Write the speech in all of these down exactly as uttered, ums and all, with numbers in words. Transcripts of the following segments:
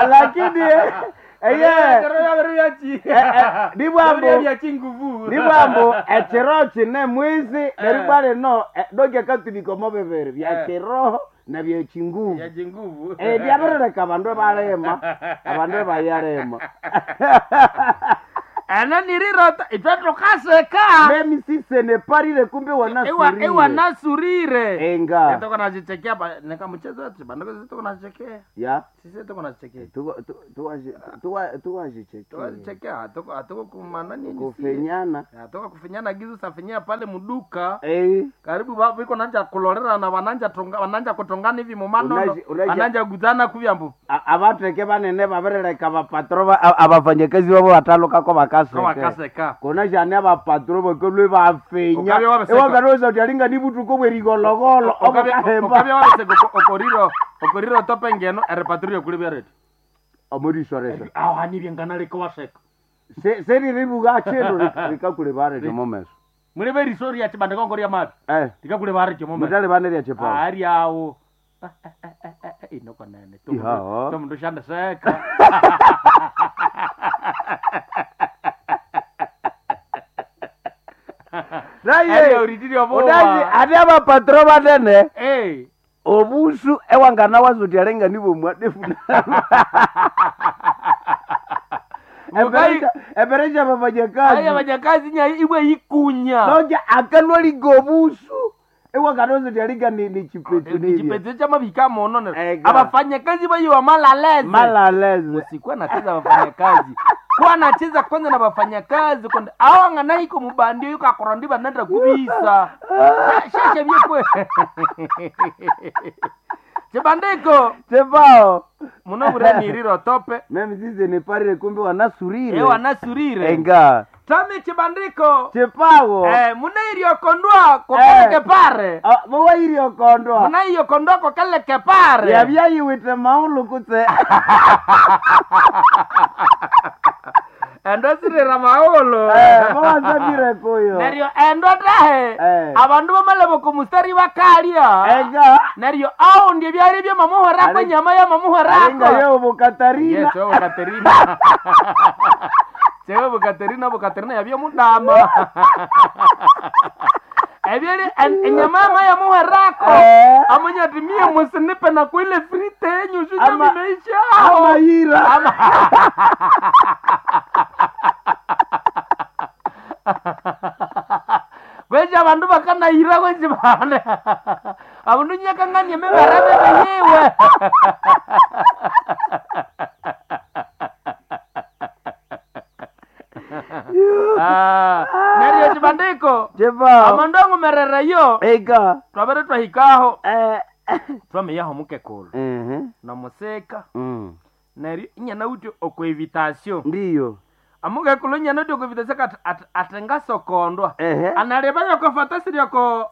Lakini eye nibwambo nibwambo ekiro kine mwizi neribwa lino doki akatubika omo bibiri bya kiroho na bya kinguvu. Kinguvu. Eh, byabirireka abandu ebalima abandu ebayalima. Ena nirirota itwe tukaseka. Memi sisene parire kumbe wanasurire. Iwanasurire. Enga. Tuko nazichekea ba neka mchezo wetu bandu tuko nazichekea. Ya. Sisi tuko nazichekea. Tuwa tuwa tuwa tuwazichekea. Tuwazichekea tuko atuko kumana nini? Kufenyana. Atuko kufinyana gizu safinyia pale muduka. Eh. Karibu babu iko nanja kulorera na wananja tonga wananja kutongana hivi mumanono. Unaji- unaji- Wananja guzana kuvyambu. A- abatheke banene babirireka abapatro ba- a- abafanyakazi babo batalukako Kwa bakaseke wakaseka. kona shani abapatro bakalwe bafenya Ukabya wabaseka. ewakanosa uti alinga ni butuko bwerigologolo obukahemba Okabya wabaseka okoriro okoriro tope ngeno erepatrio kuli byareti. omurisoresa Aho hanibye nganaleka waseka. seriribuga chindu rikakule barete momeso Muli berisori ya chibande kongo lya mapi. eh Tikakule barete momeso. mutali bane lya chipao Ari awo. Inokonene. Ihaho. Tomundu shandeseka. naye Ari uritiri obuwa. unazi ati abapatro banene Eh. obusu ewangana wazuti alinga nibo mwadefu Mukai- eperesha Aya abafanyakazi banyakazi nya iwe ikunya. noja akalwaliga obusu ewangana alinga ni, ni chipetu nibye Chipete cha mabika mono ne. Ega. Abafanyakazi bayiwa malaleze. malaleze Usikuwa nacheza wafanyakazi. Kuwa nacheza kwanza na wafanyakazi konde awangana iko mubandio yuko akorondi banenda kubisa. Sheshe byekwe. Chibandiko chepao muno bureniriro tope. memi zize niparire kumbe wanasurire Ewa nasurire. enga Tami chibandiko. chepawo Eh, munairyokondwa kokeleke pare. Ah, muwairiokondwa Munaiyokondwa kokeleke pare. yabyayiwite maulu kutse Endo sirira maulu. Eh, mawasabire kuyo Neryo endo tahe Eh. abandu bamalebo kumustari bakalya. enga Neryo aundi ebyali byamamuhorako Ari- enyama yamamuhorako. alinga yewo Katarina Yes, wewe Katerina. Chewe Katerina, bo Katerina yabye mudama. Ebyali en- enyama yama yamuhorako. Eh. Amunya ati mie musinipe na kuile frite yenyu shuja Ama- vimeisha. Ama amayira Kweja abandu bakanayira kweji bane. Abandu nyakanganie mibere bebe yiwe. Ah, neryo chibandiko chepao amandu angumerereyo enga twabere twahikaho eh twamiyaho mukekulu mhm namuseka mm neryo inyana uti okwevitasio ndiyo amukekulu inyana uti okwevitasio kat at, atengasokondwa ehe analeba yokofata asirioko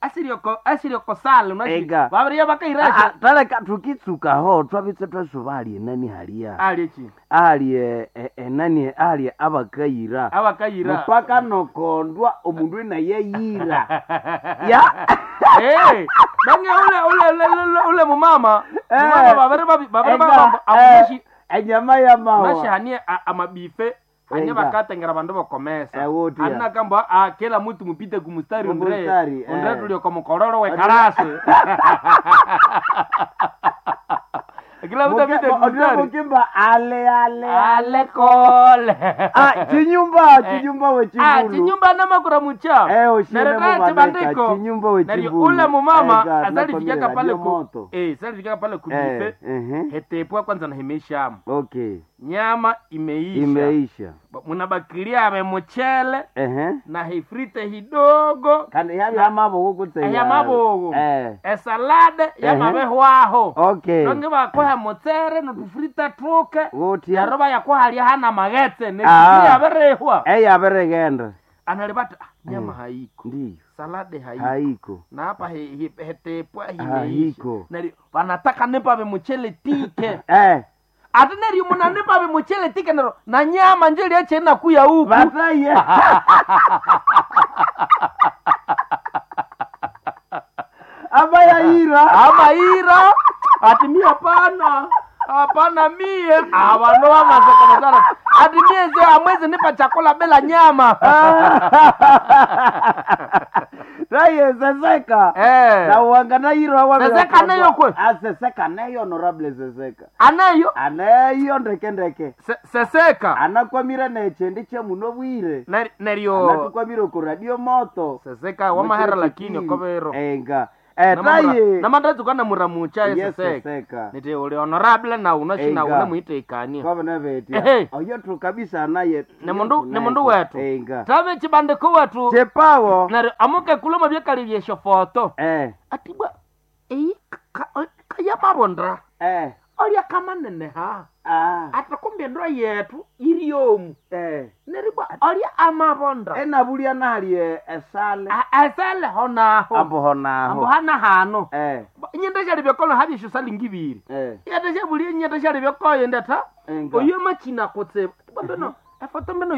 asirioko asirioko sale unashi Ega. babiriya Ah, bakairasha taleka tukitsukaho twabitse twasuba ali enani halia ali chi ali e- e- enani ali abakayira abakayira mpaka nokondwa omundu enayeyira ya Eh, bange ule ule ule ule, ule mumama Eh. mumama babere babi babere Ega, babamba eh, amunashi enyama ya mawa nashihanie amabife hanie Ega. bakatengera bandu bokomesa Eh, wotia. anna kamba ah, kila mtu mupite kumustari undre Kumustari, undre eh. tulio komukororo we karasi kila mtu apite kumustari mukimba ale ale ale kole Ah, chinyumba chinyumba Ah, wechibulu chinyumba namakura mucha Eh, ushine Neryo mubaneka, chibandiko chinyumba wechibulu. neryo ule mumama Ega, azalifikaka nakwamire pale radio ku moto. eh salifikaka pale ku bife Eh, ehe. hetepwa kwanza na himeishamu Okay, nyama imeisha imeisha Ba- munabakilia ame muchele ehe na hifrite hidogo kandi yabi amabogo kutse ya mabogo eh esalade yamabehwaho okay donge bakoha mutsere notufrite tuke wotia neryo bayakuhalya hana maghetse Ah. neyabirihwa eyabiregenda analibata "Ah, nyama haiko ndiyo salade haiko haiko na hapa he- he- hetepwa himeisha Haiko. neryo banataka nipabe muchele tike eh ate neryo munanipabe muchele tike neryo na nyama njeli echenakuya huku bataye abayayira amaira ati mi hapana Hapana mie abantu bamasekomesana ati mie sio amwezi nipa chakula bila nyama. Taye seseka Eh. na wangana yiro Seseka neyo kwe? aseseka neyo honorable seseka Aneyo aneyo ndeke ndeke Se- seseka anakwamire nechendi chemuno bwire Ner- neryo anatukwamire ku radio moto seseka wamahera lakini okobero enga etaye namandatsuka namuramucha Yes, eseseka seseka niti uli honorable na unashina Enga. une muitekania kwavana vetya Ehe. oyo tu kabisa anaye nemundu nemundu wetu enga tave chibandiko wetu chepawo neryo amuke kuluma byekali byeshofoto eh atibwa eyi kayamabondra eh olya kamaneneha ah ati kumbe endo yetu iriomu eh neribwa olya amabondra enabulia nali esale A- esele honaho ambo honaho ambo hana hano eh nyenda syali byakolo habyesho salingi ibiri eh yata syabulie nyenda syali byakoyo ndata enga oyo machina kutsibu atibwa mbeno efoto mbeno